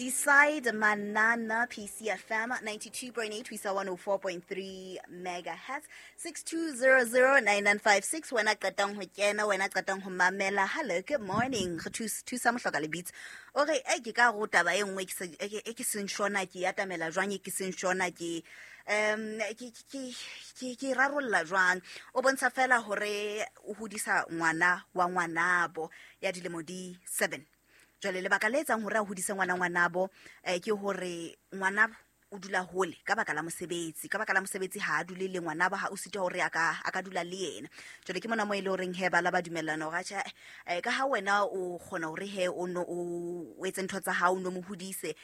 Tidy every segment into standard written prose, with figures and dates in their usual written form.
Decide Manana, PCFM 92.8 ho isa 104.3 megahertz, 62009956. Wena qetang ho kena, wena qetang ho mamela. Hello, good morning. Re thusa mohloka lebitso. O re e ke ka go taba e nngwe e ke seng shona ke atamela jwang, e ke seng shona ke um ke rarolla jwang. O bontsha fela hore o hodisa ngwana wa ngwanabo ya dilemo di 7. Jwale lebaka le etsang hore a hodise ngwana ngwanabo ke hore ngwanabo o dula hole ka baka la mosebetsi. Ka baka la mosebetsi ha a dule le ngwanabo, ha o sitwa hore a ka dula le yena. Jwale ke mona mo e le horeng he ba la ba dumellana hore atjhe, ka ha wena o kgona hore he o no o etse ntho tsa hao, o no mo hodise,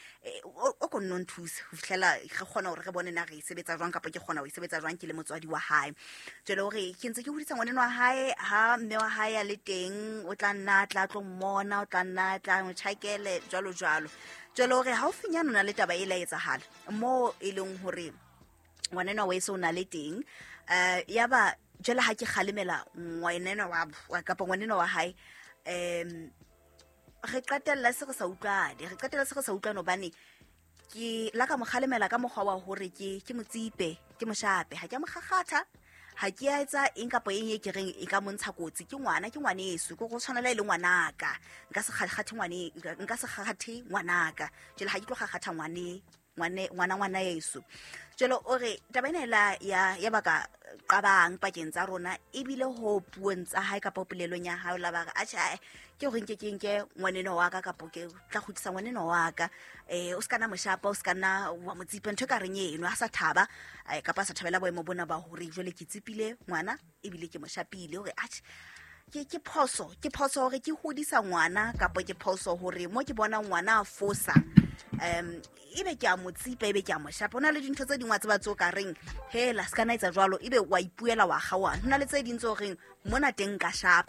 o ko nno nthuse ho fihlela re kgona hore re bone na re e sebetsa jwang, kapa ke kgona ho e sebetsa jwang ke le motswadi wa hae. Jwale hore ke ntse ke hodisa ngwaneno wa hae, ha mme wa hae a le teng, o tla nna tla tlo mmona, o tla nna tla mo tjhakele jwalo jwalo. Jwale hore haufinyane o na le taba e la etsahala mo e leng hore ngwaneno wa eso o na le teng, ya ba jwale ha ke kgalemela ngwaneno wa kapa ngwaneno wa hae, re qetella se re sa utlwane, re qetella se re sa utlwane hobane ke la ka mo kgalemela ka mokgwa wa hore ke motsipe, ke moshape, ha ke a mo kgakgatha, ha ke a etsa eng kapa eng e ke reng e ka montsha kotsi. Ke ngwana, ke ngwaneso, ke go tshwanela e le ngwanaka, nka se kgakgathe ngwane, nka se kgakgathe ngwanaka. Jwale ha ke tlo kgakgatha ngwane, ngwane, ngwana, ngwana yeso. Jwale o re taba ena ela ya baka qabang pakeng tsa rona, ebile ho puong tsa hae kapa polelong ya hae, o la ba re, atjhe, ae, ke hore nke ke nke ngwaneno wa ka, kapa ke tla kgutlisa ngwaneno wa ka, o se ka nna moshapa, o se ka nna wa mo tsipa, ntho e ka reng eno, ha sa thaba, kapa a sa thabela boemo bona ba hore jwale ke tsipile ngwana ebile ke mo shapile. Hore atjhe, ke phoso, ke phoso hore ke hodisa ngwana, kapa ke phoso hore mo ke bona ngwana a fosa, ebe ke a mo tsipa, ebe ke a mo shapa. Ho na le dintho tse ding wa tseba tseo ka reng hela se ka na etsa jwalo, ebe wa ipuela wa kgaohana. Ho na le tse ding tse o reng mona teng nka shapa.